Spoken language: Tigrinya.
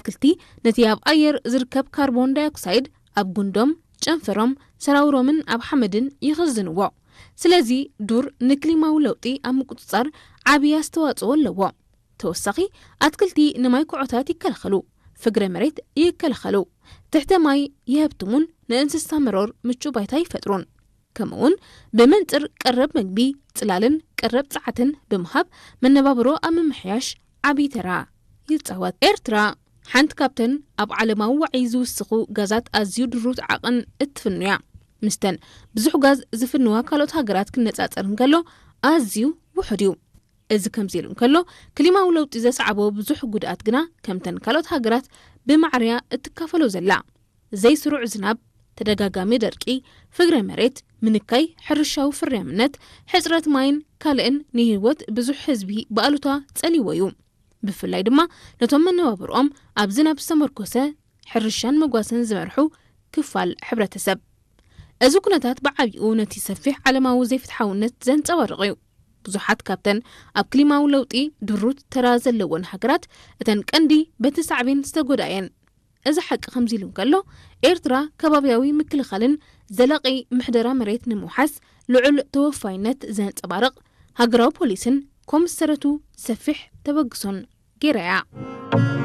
ኣትክልቲ ነቲ ኣብ ኣየር ዝርከብ ካርቦን ዳይኦክሳይድ ኣብ ጉንዶም፣ ጨንፈሮም፣ ሰራውሮምን ኣብ ሓመድን ይኽዝንዎ። ስለዚ ዱር ንክሊማዊ ለውጢ ኣብ ምቁጽጻር ዓቢ ኣስተዋጽኦ ኣለዎ። ተወሳኺ ኣትክልቲ ንማይ ኩዖታት ይከላኸሉ፣ ፍግረ መሬት ይከላኸሉ፣ ትሕተ ማይ ይሀብትሙን ንእንስሳ መሮር ምቹ ባይታ ይፈጥሩን። ከምኡውን ብመንጽር ቀረብ መግቢ፣ ጽላልን ቀረብ ጸዓትን ብምሃብ መነባብሮ ኣብ ምምሕያሽ ዓቢ ተራ ይጻወት። ኤርትራ ሓንቲ ካብተን ኣብ ዓለማዊ ዋዒ ዝውስኹ ጋዛት ኣዝዩ ድሩት ዓቕን እትፍኑ እያ። ምስተን ብዙሕ ጋዝ ዝፍንዋ ካልኦት ሃገራት ክነጻጸር እንከሎ ኣዝዩ ውሑድ እዩ። እዚ ከምዚ ኢሉ እንከሎ ክሊማዊ ለውጢ ዘስዓቦ ብዙሕ ጉድኣት ግና ከምተን ካልኦት ሃገራት ብማዕርያ እትካፈሎ ዘላ ዘይስሩዕ ዝናብ፣ ተደጋጋሚ ደርቂ፣ ፍግረ መሬት፣ ምንካይ ሕርሻዊ ፍርያምነት፣ ሕጽረት ማይን ካልእን ንህይወት ብዙሕ ህዝቢ ብኣሉታ ጸሊዎ እዩ። ብፍላይ ድማ ነቶም መነባብርኦም ኣብ ዝናብ ዝተመርኮሰ ሕርሻን መጓሰን ዝመርሑ ክፋል ሕብረተሰብ። እዚ ኩነታት ብዓቢኡ ነቲ ሰፊሕ ዓለማዊ ዘይፍትሓውነት ዘንጸባርቕ እዩ። ብዙሓት ካብተን ኣብ ክሊማዊ ለውጢ ድሩት ተራ ዘለወን ሃገራት እተን ቀንዲ በቲ ሳዕቤን ዝተጎድኣየን። እዚ ሓቂ ከምዚ ኢሉ እንከሎ ኤርትራ ከባብያዊ ምክልኻልን ዘላቒ ምሕደራ መሬት ንምውሓስ ልዑል ተወፋይነት ዘንጸባርቕ ሃገራዊ ፖሊስን ኮምሰረቱ ሰፊሕ ተበግሶን ገይራ እያ።